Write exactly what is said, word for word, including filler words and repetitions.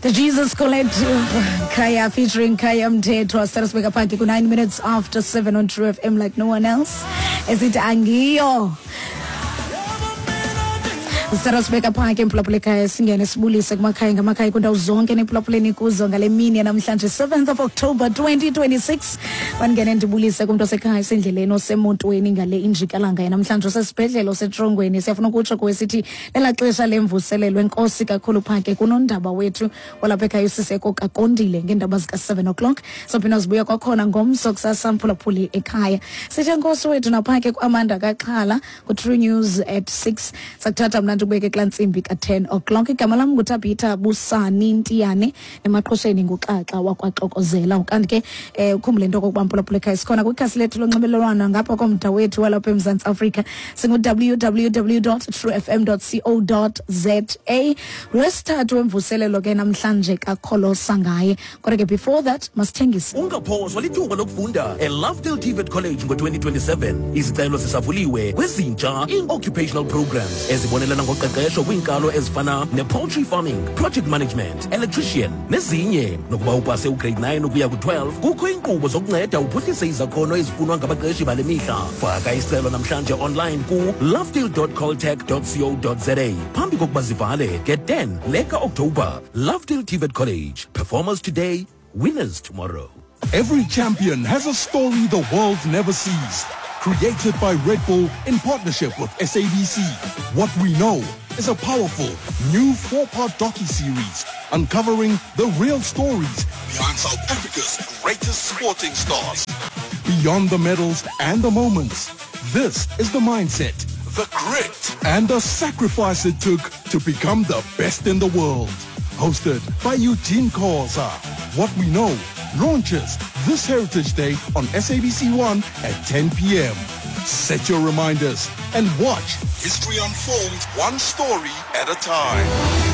The Jesus Collective, Khaya featuring Khaya Mthethwa, sibeka phakathi ku nine minutes after seven on True F M like no one else. Esithi angiyo. Sibeka phakathi emphulaphula ekhaya, singene sibulise kumakhaya ngamakhaya kwindawo zonke nephulaphuleni kuzo ngale mini namhlanje seventh of October twenty twenty-six. Bangene ndibulise kumntu osekhaya, esendleleni, osemotweni ngale injikalanga yanamhlanje, osesibhedlele, osetrongweni. Siyafuna ukutsho kuwe sithi lela xesha lemvuselelo. Enkosi kakhulu phake kunondaba wethu walapha ekhaya uSiseko Kakondile ngeendaba zika-seven o'clock. Sophinda zibuya kwakhona ngomso kusasa, mphulaphuli ekhaya. Sithe enkosi wethu naphake kuAmanda Kaxhala ku-True News at six. Sakuthatha mna ndikubeke kulaa ntsimbi ka-ten o'clock. Igama lam nguTabitha Busani Ntiyane, emaqhosheni nguXaxa wakwaXokozela. Ukanti ke um ukhumbule into okokuba, mphulaphula ekhaya, sikhona kwikhasi lethu lonxibelelwano ngapha komda wethu walapha eMzantsi Afrika, singu W W W dot true F M dot co dot za. Lwesithathu wemvuselelo ke namhlanje kakholosa ngaye, kodwa ke before that masithengise. Ungaphoswa lithuba lokufunda eLovedale T V E T College ngo-twenty twenty-seven. Izicelo zisavuliwe kwezintsha ii-occupational programs ezibonelela ngoqeqesho kwiinkalo ezifana ne-poultry farming, project management, electrician nezinye. Nokuba upase ugrade nine ukuya ku-twelve, kukho iinkqubo zokunceda uphuhlise izakhono ezifunwa ngabaqeshi bale mihla. Faka isicelo namhlanje online ku lovedale dot coltech dot co dot za phambi kokuba zivale nge-ten leka-Oktoba. Lovedale T V E T College, performers today, winners tomorrow. Every champion has a story the world never sees. Created by Red Bull in partnership with S A B C. What We Know is a powerful new four-part docu-series uncovering the real stories behind South Africa's greatest sporting stars. Beyond the medals and the moments, this is the mindset, the grit, and the sacrifice it took to become the best in the world. Hosted by Eugene Khoza. What We Know launches this Heritage Day on S A B C one at ten p m. Set your reminders and watch history unfold one story at a time.